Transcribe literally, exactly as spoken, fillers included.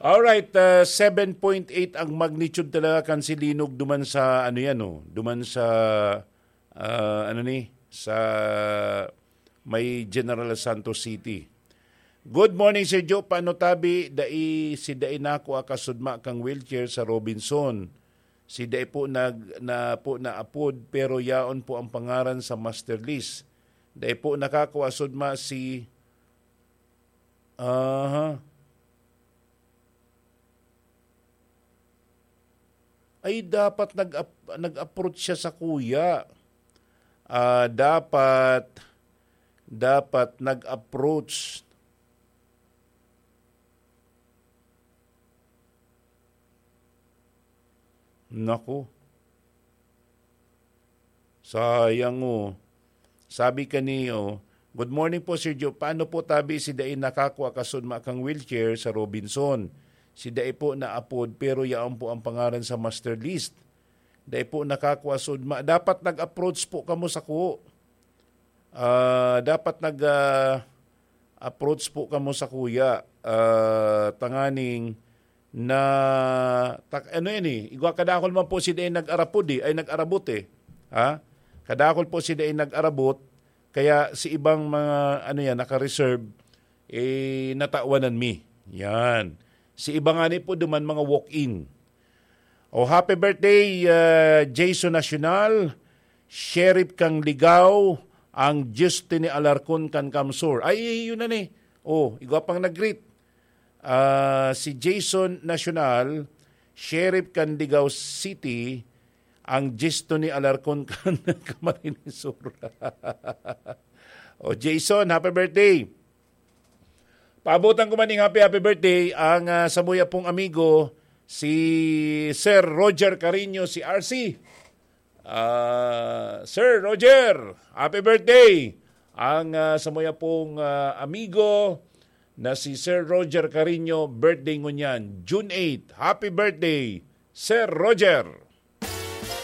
Alright, uh, seven point eight ang magnitude talaga kan silinog duman sa, ano yan, oh, duman sa, uh, ano ni, sa may General Santos City. Good morning, Sir Joe. Paano tabi? Dai, si dai nako akasudma kang wheelchair sa Robinson. Si dai po nag, na po naapod, pero yaon po ang pangaran sa master list. Dai po nakakua sudma si, aha. Ay, dapat nag-ap-, nag-approach siya sa kuya. Ah, dapat, dapat nag-approach. Naku. Sayang, oh. Sabi kaniyo, "Good morning po, Sir Joe. Paano po tabi si dai nakakua kasudma kang wheelchair sa Robinson? Si dai po naapod, pero yaon po ang pangaran sa master list. Dai po nakakua sudma." Dapat nag-approach po kamo sako. Ah, dapat nag, ah, approach po kamo sa kuya. Ah, tanganing na, tak-, ano yan eh, igwa kadakol man po si dai nag-arapod eh, ay nag-arabot eh. Ha? Kadakol po si dai nag-arabot, kaya si ibang mga, ano yan, naka-reserve, eh, natawanan mi. Yan. Si iba nga ni po duman mga walk-in. Oh, happy birthday, ah, Jason Nacional, Sheriff kang Ligao, ang Justine Alarcon kan Kamsur. Ay, yun na ni. Oh, igwa pang nag-greet. Ah, si Jason Nacional, Sheriff kan Ligao City, ang Justine Alarcon kan Camarines Sur. Oh, Jason, happy birthday. Paabotan ko man ning happy, happy birthday ang, ah, samuya pong amigo, si Sir Roger Carino, si R C. Ah, Sir Roger, happy birthday! Ang, ah, samuya pong, ah, amigo na si Sir Roger Carino, birthday ngunyan, June eight. Happy birthday, Sir Roger!